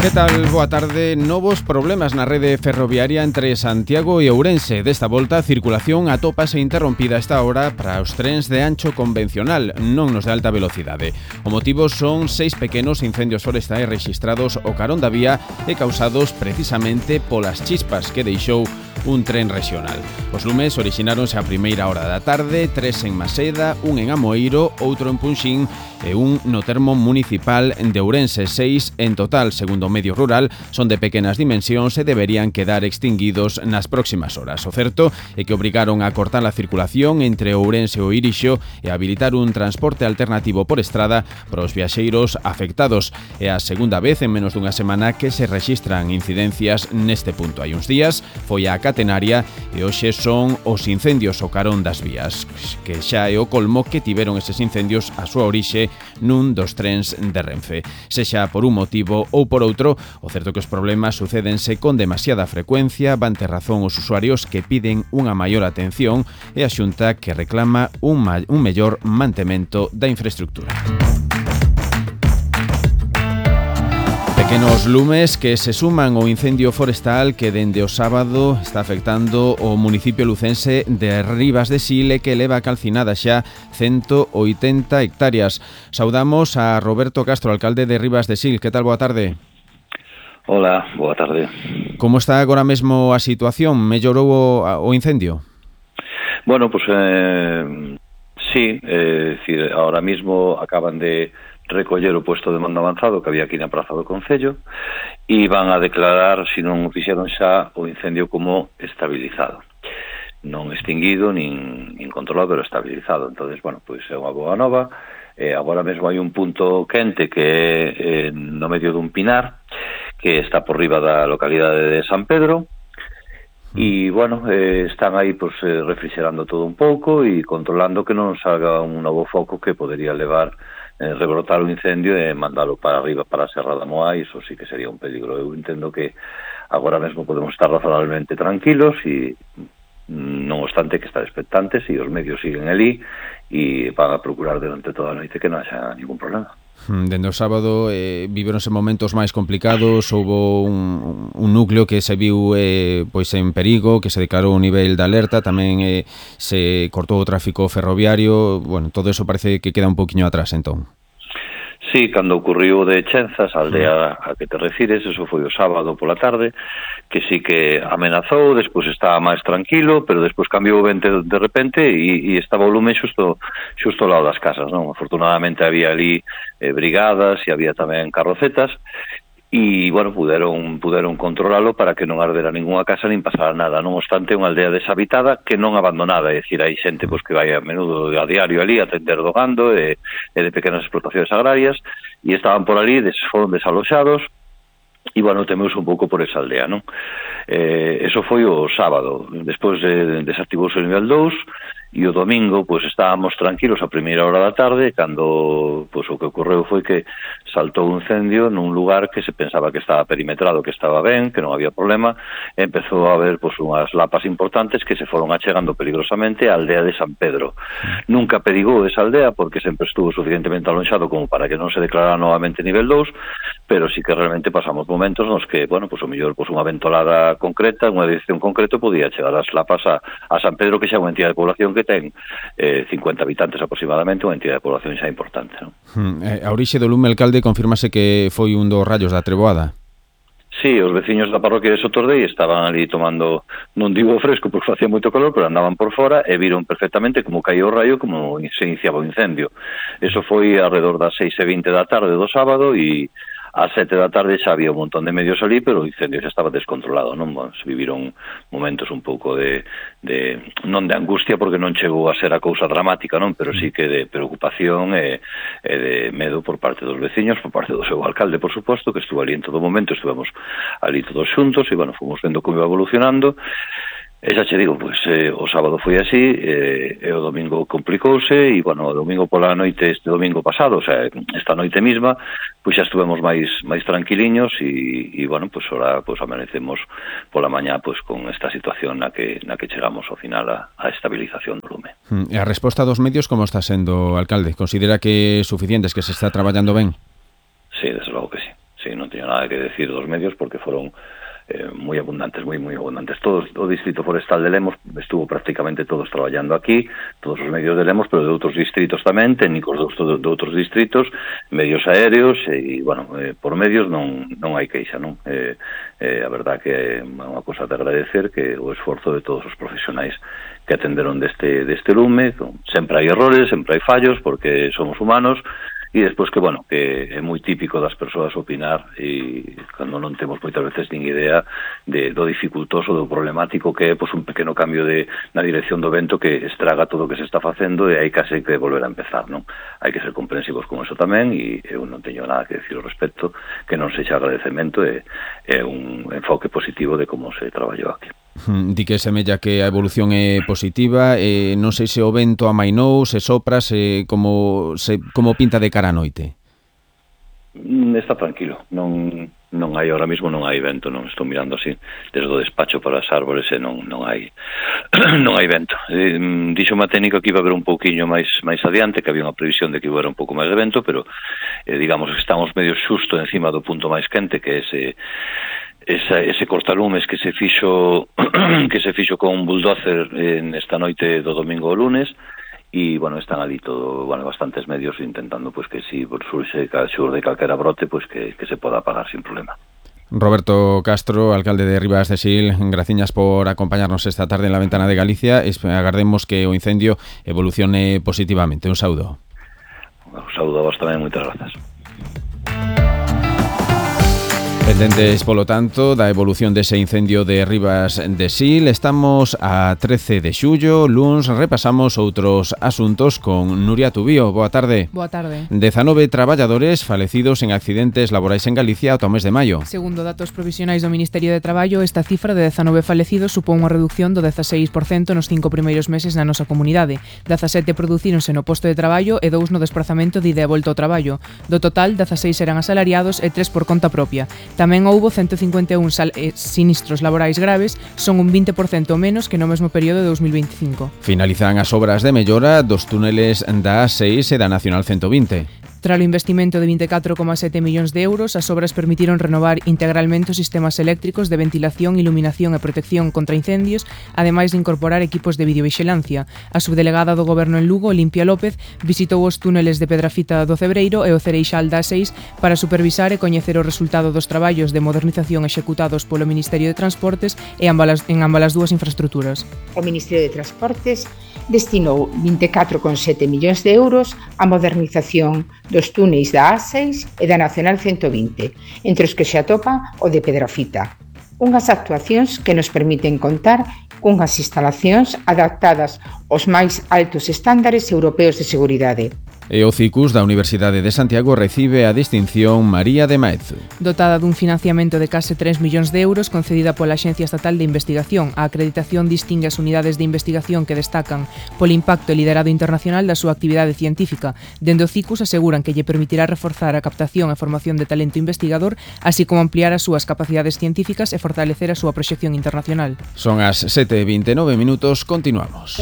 Que tal? Boa tarde. Novos problemas na rede ferroviaria entre Santiago e Ourense. Desta volta, a circulación atópase interrompida esta hora para os trens de ancho convencional, non nos de alta velocidade. O motivo son 6 pequenos incendios forestais rexistrados ao carón da vía e causados precisamente polas chispas que deixou un tren regional. Os lumes orixináronse a primeira hora da tarde, 3 en Maseda, un en Amoeiro, outro en Punxín e un no termo municipal de Ourense. 6 en total, segundo o medio rural, son de pequenas dimensións e deberían quedar extinguidos nas próximas horas. O certo é que obrigaron a cortar a circulación entre Ourense e o Irixo e a habilitar un transporte alternativo por estrada para os viaxeiros afectados. É a segunda vez en menos dunha semana que se rexistran incidencias neste punto. Hai uns días foi a catenaria e hoxe son os incendios ao carón das vías, que xa é o colmo que tiveron eses incendios a súa orixe nun dos trens de Renfe. Sexa por un motivo ou por outro, o certo é que os problemas sucédense con demasiada frecuencia, van ter razón os usuarios que piden unha maior atención e a Xunta que reclama un mellor mantemento da infraestructura. Pequenos lumes que se suman ao incendio forestal que dende o sábado está afectando o municipio lucense de Ribas de Sil e que leva calcinada xa 180 hectáreas. Saudamos a Roberto Castro, alcalde de Ribas de Sil. Que tal? Boa tarde. Hola, boa tarde. Como está agora mesmo a situación? Mellorou o incendio? Bueno, pues sí, decir, ahora mismo acaban de recoller o puesto de mando avanzado que había aquí na Praza do Concello e van a declarar, se non o fixeron xa, o incendio como estabilizado. Non extinguido, nin controlado, pero estabilizado. Entonces, bueno, pois é unha boa nova. Agora mesmo hai un punto quente que é no medio dun pinar, que está por riba da localidade de San Pedro, e, bueno, están aí pues, refrigerando todo un pouco e controlando que non salga un novo foco que podería levar rebrotar o incendio e mandalo para arriba, para a Serra da Moa, e iso sí que sería un peligro. Eu entendo que agora mesmo podemos estar razonablemente tranquilos e non obstante que estar expectantes e os medios siguen ali e van a procurar durante toda a noite que non haxa ningún problema. Dende o sábado viveronse momentos máis complicados, houbo un núcleo que se viu pois en perigo, que se declarou un nivel de alerta, tamén se cortou o tráfico ferroviario. Bueno, todo eso parece que queda un poquinho atrás, entón. Sí, cando ocurriu de Chenzas, a aldea a que te refires, eso foi o sábado pola tarde, que sí que amenazou, despois estaba máis tranquilo, pero despois cambiou o vento de repente e estaba o lume xusto ao lado das casas, non? Afortunadamente había ali brigadas e había tamén carrocetas, e, bueno, puderon controlalo para que non ardera ninguna casa nin pasara nada. Non obstante, unha aldea deshabitada que non abandonada, é dicir, hai xente pues, que vai a menudo a diario ali a atender do gando e de pequenas explotacións agrarias, e estaban por ali, foron desaloxados, e, bueno, temeuse un pouco por esa aldea, non? Eso foi o sábado. Despois desactivouse o nivel 2, e o domingo, pois, estábamos tranquilos a primeira hora da tarde, cando, pois, o que ocorreu foi que saltou un incendio nun lugar que se pensaba que estaba perimetrado, que estaba ben, que non había problema, e empezou a haber, pois, unhas lapas importantes que se foron achegando peligrosamente á aldea de San Pedro. Nunca perigou esa aldea, porque sempre estuvo suficientemente alonxado como para que non se declarara novamente nivel 2, pero sí que realmente pasamos momentos nos que, bueno, pois, o mellor, pois, unha ventolada concreta, unha dirección concreta, podía chegar as lapas a San Pedro, que xa é unha entidade de población que ten 50 habitantes aproximadamente, unha entidade de población xa importante, non? A orixe do lume, alcalde, confirmase que foi un dos rayos da treboada? Sí, os veciños da parroquia de Sotordei estaban ali tomando, non digo fresco porque facía moito calor, pero andaban por fora e viron perfectamente como caía o raio, como se iniciaba o incendio. Eso foi alrededor das 6:20 da tarde do sábado e ás 7 da tarde xa había un montón de medios ali, pero o incendio xa estaba descontrolado, non? Bueno, se viviron momentos un pouco de non de angustia, porque non chegou a ser a cousa dramática, non? Pero sí que de preocupación e de medo por parte dos veciños, por parte do seu alcalde, por suposto, que estuvo ali en todo momento, estuvemos ali todos xuntos e, bueno, fomos vendo como iba evolucionando. E xa che digo, pois, o sábado foi así, e o domingo complicouse, e, bueno, o domingo pola noite, este domingo pasado, o sea, esta noite mesma, pois xa estuvemos máis tranquiliños, e bueno, pois, ora, pois, amanecemos pola mañá, pois, con esta situación na que chegamos ao final a estabilización do lume. E a resposta dos medios como está sendo, alcalde? Considera que é suficiente, que se está traballando ben? Sí, desde logo que sí. sí, non teño nada que decir dos medios porque foron moi abundantes, moi abundantes. Todos, o Distrito Forestal de Lemos estuvo prácticamente todos traballando aquí, todos os medios de Lemos, pero de outros distritos tamén, técnicos de outros distritos, medios aéreos, e, bueno, por medios non hai queixa, non? A verdad que é unha cosa de agradecer que o esforzo de todos os profesionais que atenderon deste lume, sempre hai errores, sempre hai fallos, porque somos humanos, e despois que, bueno, que é moi típico das persoas opinar e cando non temos moitas veces nin idea do dificultoso, do problemático que é un pequeno cambio na dirección do vento que estraga todo o que se está facendo e hai case que volver a empezar, non? Hai que ser comprensivos con eso tamén e eu non teño nada que decir ao respecto que non sexa agradecemento e un enfoque positivo de como se traballou aquí. Di que semella que a evolución é positiva, non sei se o vento amainou, se sopra, como pinta de cara a noite. Está tranquilo, non hai ahora mismo, non hai vento, non estou mirando así desde o despacho para as árbores e non hai non hai vento. Dixo unha técnica que iba a haber un pouquiño máis adiante, que había unha previsión de que iba a haber un pouco máis de vento, pero digamos que estamos medio xusto encima do punto máis quente, que é ese cortalumes que se fixo con un bulldozer esta noite do domingo ao lunes, e, bueno, están ali bastantes medios intentando que si xurde calquera brote, que se poda apagar sin problema. Roberto Castro, alcalde de Ribas de Sil, graciñas por acompañarnos esta tarde en La Ventana de Galicia. Agardemos que o incendio evolucione positivamente. Un saúdo. Un saúdo a vos tamén, moitas grazas. Pendentes, polo tanto, da evolución dese incendio de Ribas de Sil. Estamos a 13 de xullo, luns, repasamos outros asuntos con Nuria Tubío. Boa tarde. Boa tarde. 19 traballadores falecidos en accidentes laborais en Galicia ata o mes de maio. Segundo datos provisionais do Ministerio de Traballo, esta cifra de 19 falecidos supón unha reducción do 16% nos 5 primeiros meses na nosa comunidade. 17 producíronse no posto de traballo e 2 no desplazamento de ida e volta ao traballo. Do total, 16 eran asalariados e 3 por conta propia. Tamén houbo 151 sinistros laborais graves, son un 20% menos que no mesmo período de 2025. Finalizan as obras de mellora dos túneles da A6 e da Nacional 120. Tras o investimento de 24,7 millóns de euros, as obras permitiron renovar integralmente os sistemas eléctricos de ventilación, iluminación e protección contra incendios, ademais de incorporar equipos de videovixilancia. A subdelegada do Goberno en Lugo, Olimpia López, visitou os túneles de Pedrafita do Cebreiro e o Cereixal da A6 para supervisar e coñecer o resultado dos traballos de modernización executados polo Ministerio de Transportes en ambas as dúas infraestruturas. O Ministerio de Transportes destinou 24,7 millóns de euros á modernización dos túneis da A6 e da Nacional 120, entre os que se atopa o de Pedrafita. Unhas actuacións que nos permiten contar cunhas instalacións adaptadas aos máis altos estándares europeos de seguridade. E o CICUS da Universidade de Santiago recibe a distinción María de Maeztu. Dotada dun financiamento de case 3 millóns de euros concedida pola Axencia Estatal de Investigación, a acreditación distingue as unidades de investigación que destacan polo impacto e liderado internacional da súa actividade científica. Dende o CICUS aseguran que lle permitirá reforzar a captación e formación de talento investigador, así como ampliar as súas capacidades científicas e fortalecer a súa proxección internacional. Son as 7:29 minutos, continuamos.